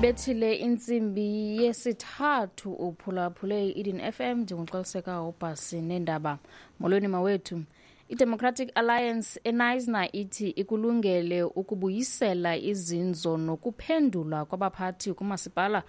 Ibethile intsimbi yesithathu, uphulaphule i-Eden FM. Ndinguxoliseka ubhasi neendaba. Molweni mawethu. I-Democratic Alliance eNysna ithi ikulungele ukubuyisela izinzo nokuphendula kwabaphathi kumasipala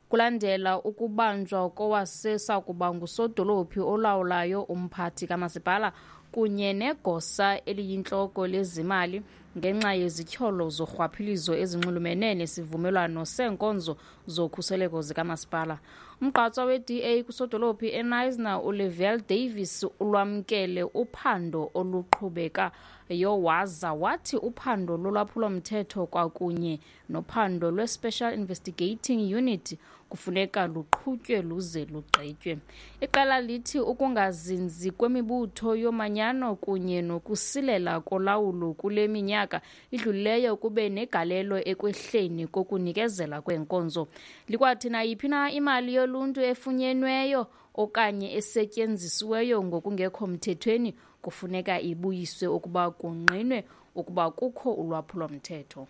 kulandela ukubanjwa kowasesakuba ngusodolophi olawulayo, umphathi kamasipala kunye negosa eliyintloko lezimali ngenxa yezityholo zorhwaphilizo ezinxulumene nesivumelwano seenkonzo zokhuseleko zikamasipala. Umgqatswa we-DA kusodolophi eNysna, uLevelle Davis, ulwamkele uphando oluqhubekayo waza wathi uphando lolwaphulomthetho kwakunye nophando lwe-Special Investigating Unit kufuneka luqhutywe luze lugqitywe. Iqela lithi ukungazinzi kwemibutho yomanyano kunye nokusilela kolawulo kule minyaka idlulileyo kube negalelo ekwehleni kokunikezela kweenkonzo. Likwathi nayiphi na imali yoluntu efunyenweyo okanye esetyenzisiweyo ngokungekho mthethweni kufuneka ibuyiswe ukuba kungqinwe ukuba kukho ulwaphulomthetho.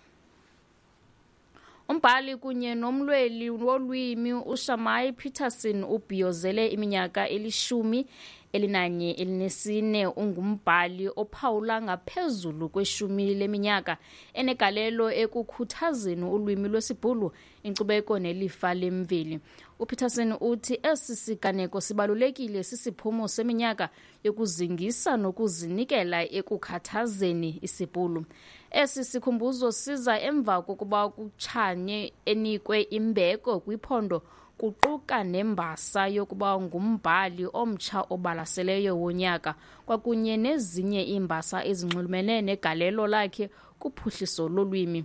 Umbhali kunye nomlweli wolwimi uShamai Peterson ubhiyozele iminyaka eli-14 Ungumbhali ophawula ngaphezulu kweshumi leminyaka enegalelo ekukhuthazeni ulwimi lwesiBhulu, inkcubeko nelifa lemveli. UPeterson uthi esi siganeko sibalulekile sisiphumo seminyaka yokuzingisa nokuzinikela ekukhathazeni isiBhulu. Esi sikhumbuzo siza emva kokuba kutshanye enikwe imbeko kwiphondo, kuquka nembasa yokuba ngumbhali omtsha obalaseleyo wonyaka kwakunye nezinye iimbasa ezinxulumene negalelo lakhe kuphuhliso lolwimi.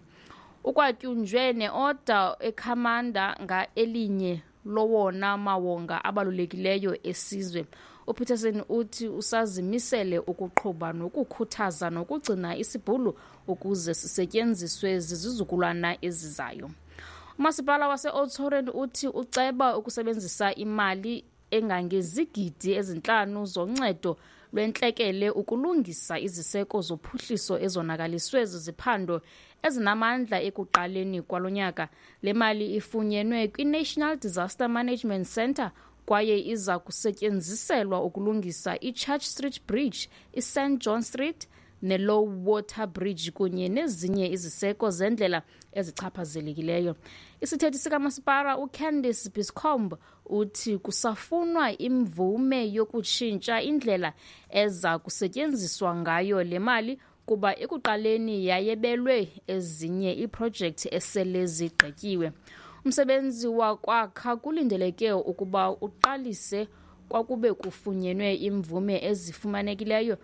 Ukwatyunjwe neoda ekhamanda nga-elinye lowona mawonga abalulekileyo esizwe. UPeterson uthi usazimisele ukuqhuba nokukhuthaza nokugcina isiBhulu ukuze sisetyenziswe zizizukulwana ezizayo. Umasipala wase-Oudtshoorn uthi uceba ukusebenzisa imali engangezigidi 5 zoncedo lwentlekele ukulungisa iziseko zophuhliso ezonakaliswe ziziphando ezinamandla ekuqaleni kwalo nyaka. Le mali ifunyenwe kwi-National Disaster Management Centre kwaye iza kusetyenziselwa ukulungisa i-Church Street Bridge, i-St John Street ne-Low Water Bridge kunye nezinye iziseko zendlela ezichaphazelekileyo. Isithethi sikamasipala uCandice Biscombe uthi kusafunwa imvume yokutshintsha indlela eza kusetyenziswa ngayo le mali, kuba ekuqaleni yayebelwe ezinye iiprojekthi esele zigqityiwe. Umsebenzi wakwakha kulindeleke ukuba uqalise kwakube kufunyenwe imvume ezifumanekileyo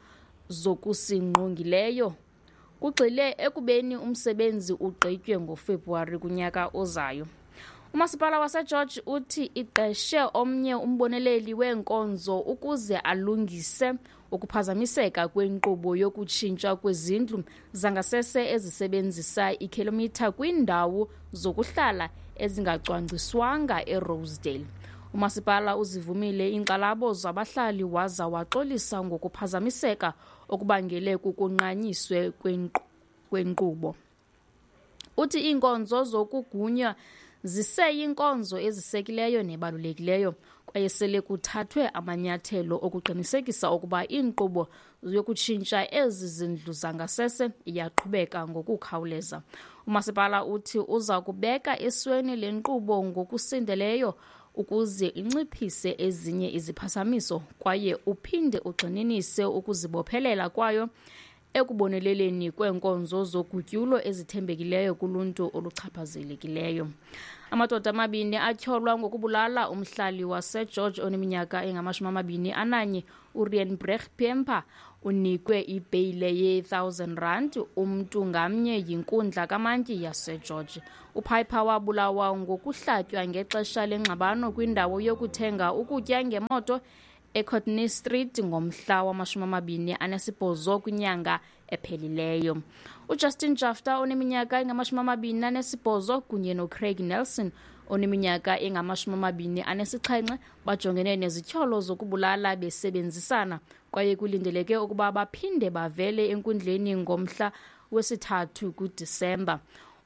zokusingqongileyo, kugxile ekubeni umsebenzi ugqitywe ngoFebruwari kunyaka ozayo. Umasipala waseGeorge uthi iqeshe omnye umboneleli weenkonzo ukuze alungise ukuphazamiseka kwenkqubo yokutshintsha kwezindlu zangasese ezisebenzisa ikhilomitha kwiindawo zokuhlala ezingacwangciswanga eRosedale. Umasipala uzivumile iinkxalabo zabahlali waza waxolisa ngokuphazamiseka okubangele kukunqanyiswe kwenkqubo. Uthi iinkonzo zokugunya ziseyinkonzo ezisekileyo nebalulekileyo kwaye sele kuthathwe amanyathelo okuqinisekisa ukuba inkqubo yokutshintsha ezi zindlu zangasese iyaqhubeka ngokukhawuleza. Umasipala uthi uza kubeka esweni le nkqubo ngokusindeleyo ukuze inciphise ezinye iziphazamiso kwaye uphinde ugxininise ukuzibophelela kwayo ekuboneleleni kweenkonzo zogutyulo ezithembekileyo kuluntu oluchaphazelekileyo. Amadoda amabini atyholwa ngokubulala umhlali waseGeorge oneminyaka engama-21, uRian Brecht Pemper, unikwe ibheyile ye-R1000 umntu ngamnye yinkundla kamantyi yaseGeorge. UPiper wabulawa ngokuhlatywa ngexesha lengxabano kwindawo yokuthenga ukutya ngemoto eCourtney Street ngomhla wama-28 kwinyanga ephelileyo. UJustin Jafta oneminyaka engama-28 kunye noCraig Nelson oneminyaka engama-27 bajongene nezityholo zokubulala besebenzisana kwaye kulindeleke ukuba baphinde bavele enkundleni ngomhla wesi-3 kuDisemba.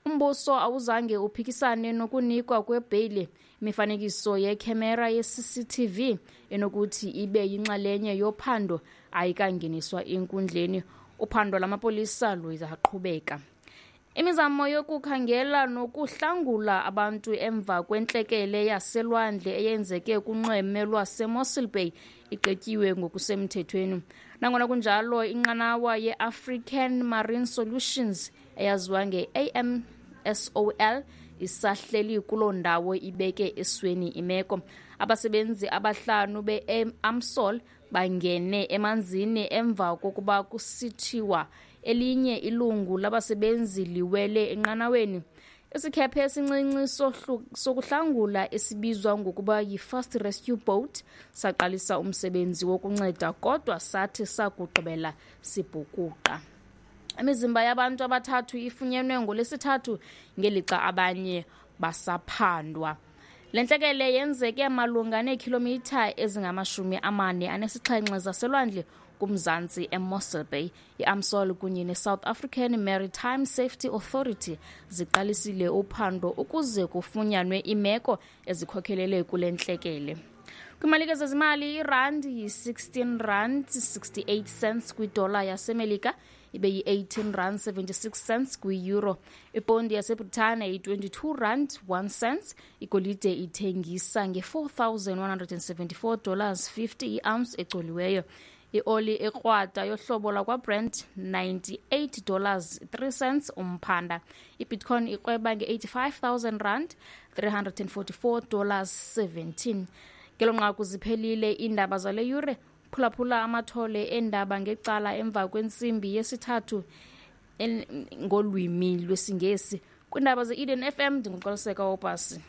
Umbuso awuzange uphikisane nokunikwa kwebheyile. Imifanekiso yekhemera ye-CCTV enokuthi ibe yinxalenye yophando ayikangeniswa enkundleni. Uphando lamapolisa luyaqhubeka. Imizamo yokukhangela nokuhlangula abantu emva kwentlekele yaselwandle eyenzeke kunxweme lwaseMossel Bay igqityiwe ngokusemthethweni. Nangona kunjalo, inqanawa ye-African Marine Solutions eyaziwa nge-AMSOL isahleli kuloo ndawo ibeke esweni imeko. Abasebenzi abahlanu be-AMSOL bangene emanzini emva kokuba kusithiwa elinye ilungu labasebenzi liwele enqanaweni. Isikhephe esincinci sokuhlangula esibizwa ngokuba yi-Fast Rescue Boat saqalisa umsebenzi wokunceda, kodwa sathi sakugqibela sibhukuqa. Imizimba yabantu abathathu ifunyenwe ngoLwesithathu ngelixa abanye basaphandwa. Le ntlekele yenzeke malunga neekhilomitha ezingama-47 zaselwandle kumzantsi eMossel Bay. I-AMSOL kunye ne-South African Maritime Safety Authority ziqalisile uphando ukuze kufunyanwe imeko ezikhokhelele kule ntlekele. Kwimalike zezimali, irandi yi-16 rand 68 cents kwidola yaseMelika, ibe yi-18 rand 76 cents kwi-euro. Ipondi yaseBritane yi-22 rand 1 cents. Igolide ithengisa nge-$4,174 50 i-ounce ecoliweyo. Ioli ekrwada yohlobo lakwaBrent, $98 3 cents umphanda. Ibitcoin ikrweba nge-85,000 rand $344 17. Ngelo nqaku ziphelile iindaba zale yure. Phulaphula amathole eendaba ngecala emva kwentsimbi yesithathu ngolwimi lwesiNgesi. Kwiindaba ze-Eden FM, ndinguXoliseka Obhasi.